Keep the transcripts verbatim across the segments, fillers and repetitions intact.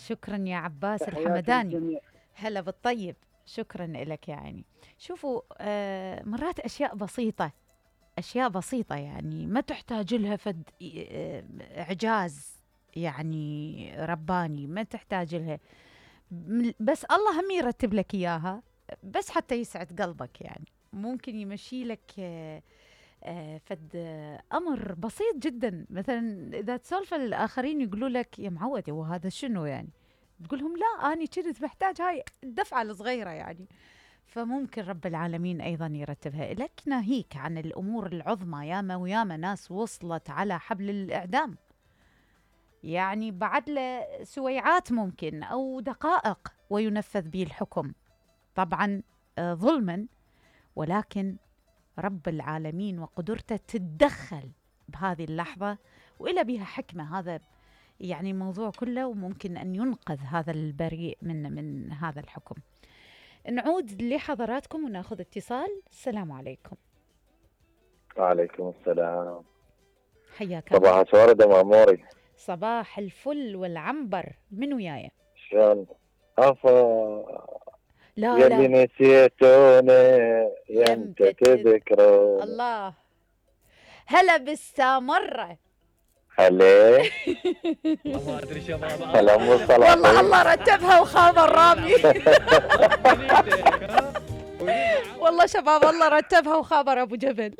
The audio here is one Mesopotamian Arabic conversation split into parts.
شكرا يا عباس تحياتي الحمداني. للجميع. هلا بالطيب، شكرا لك يعني. شوفوا آه مرات أشياء بسيطة، أشياء بسيطة يعني ما تحتاج لها فد آه، إعجاز يعني رباني، ما تحتاج لها، م- بس الله هم يرتب لك إياها بس حتى يسعد قلبك يعني. ممكن يمشي لك آه، آه، فد آه، أمر بسيط جدا. مثلا إذا تسولف الآخرين يقولوا لك يا معودة وهذا شنو يعني، تقول لهم لا أنا كنت محتاج هاي الدفعة الصغيرة يعني. فممكن رب العالمين أيضا يرتبها لك، ناهيك عن الأمور العظمى. ياما وياما ناس وصلت على حبل الإعدام يعني بعد له سويعات ممكن أو دقائق وينفذ به الحكم، طبعا آه، ظلما، ولكن رب العالمين وقدرته تتدخل بهذه اللحظة وإلى بها حكمة. هذا يعني الموضوع كله، وممكن أن ينقذ هذا البريء من من هذا الحكم. نعود لحضراتكم وناخذ اتصال. السلام عليكم. وعليكم السلام. حياك الله. صباح وردة مأموري. صباح الفل والعنبر. من وياي؟ شلون؟ عفا لا يلي لا نسيتوني يمتى يمتى تذ... تذكروني. الله. هلا بالسامرة. هلي ما ادري شباب. هلا ام الصلاحي. والله الله رتبها وخابر رامي. والله شباب الله رتبها وخابر ابو جبل.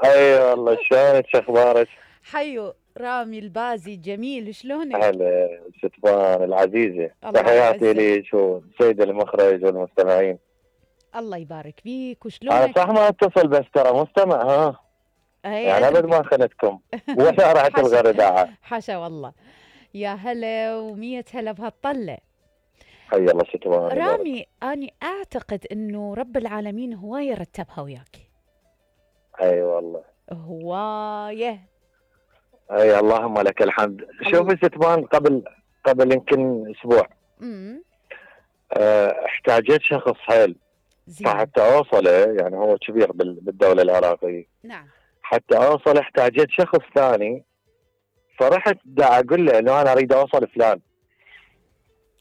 اي والله. شلونك؟ شو اخبارك؟ حيو رامي البازي جميل، شلونك؟ هلا ستبان العزيزة. الله تحياتي يعزك. لي شو سيد المخرج والمستمعين. الله يبارك فيك. انا وشلونك؟ صح ما اتصل بس ترى مستمع ها. هي يعني ابد ما خنتكم ولا راحت حاشا. الغرداء. حاشا والله. يا هلا ومية هلا بهالطلة. حي الله ستبان. رامي أنا أعتقد أنه رب العالمين هواية رتبها وياك. اي والله. هواية. اي اللهم لك الحمد. شوفي ستبان قبل قبل يمكن اسبوع امم أه احتاجت شخص حيل زين. فحتى اوصله، يعني هو كبير بال- بالدولة العراقية. نعم. حتى اوصل احتاجت شخص ثاني، فرحت دا اقول له انه انا اريد اوصل فلان.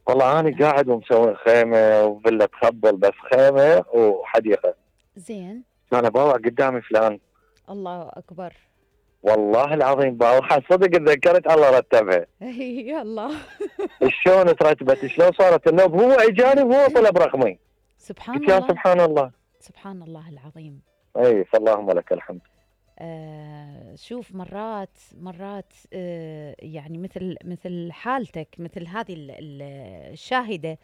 والله انا قاعد ومسوي خيمه وفيلا تخبل، بس خيمه وحديقه. زين. انا باوع قدامي فلان. الله أكبر. والله العظيم باوع صدق تذكرت الله رتبها. يا الله. شلون ترتبت؟ شلون صارت النوب؟ هو اجاني وهو طلب رقمي. سبحان قلت يا الله. سبحان الله. سبحان الله العظيم. اي فاللهم لك الحمد. آه شوف مرات مرات آه يعني مثل مثل حالتك، مثل هذه ال- ال- الشاهدة.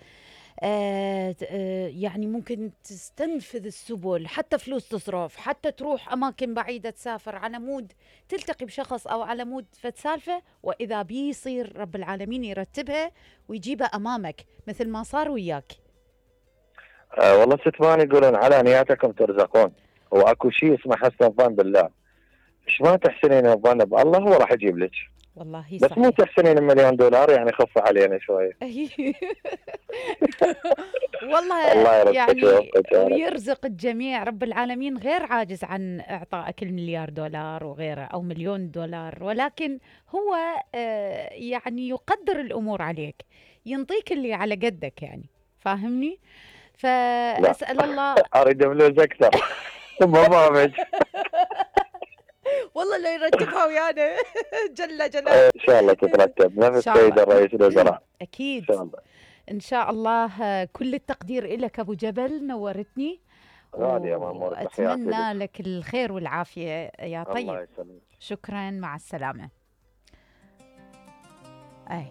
آه آه يعني ممكن تستنفذ السبل، حتى فلوس تصرف، حتى تروح أماكن بعيدة، تسافر على مود تلتقي بشخص أو على مود فتسالفة، وإذا بيصير رب العالمين يرتبها ويجيبها أمامك مثل ما صار وياك. آه والله ستمان يقولون على نياتكم ترزقون، واكو شيء اسمه حسن الظن بالله. ايش ما تحسنين الظن بالله هو راح يجيب لك. والله بس مو صحيح. تحسنين مليون دولار، يعني خف علينا شويه. والله الله يرزقك يعني ويوفقك يا رب. ويرزق الجميع. رب العالمين غير عاجز عن إعطائك المليار دولار وغيره أو مليون دولار، ولكن هو آه، يعني يقدر الأمور عليك، ينطيك اللي على قدك يعني. فاهمني؟ فأسأل الله. اريد فلوس اكثر. ما فاهمك. والله لو يرتبها ويانا جل جلاله. ان شاء الله تترتب نفس إن شاء سيد الله. الرئيس الوزراء. أكيد. ان شاء الله. إن شاء الله. آه، كل التقدير لك أبو جبل، نورتني. غالي يا مامور. وأتمنى لك الخير والعافية يا الله طيب. يسلمك. شكرا، مع السلامة. أي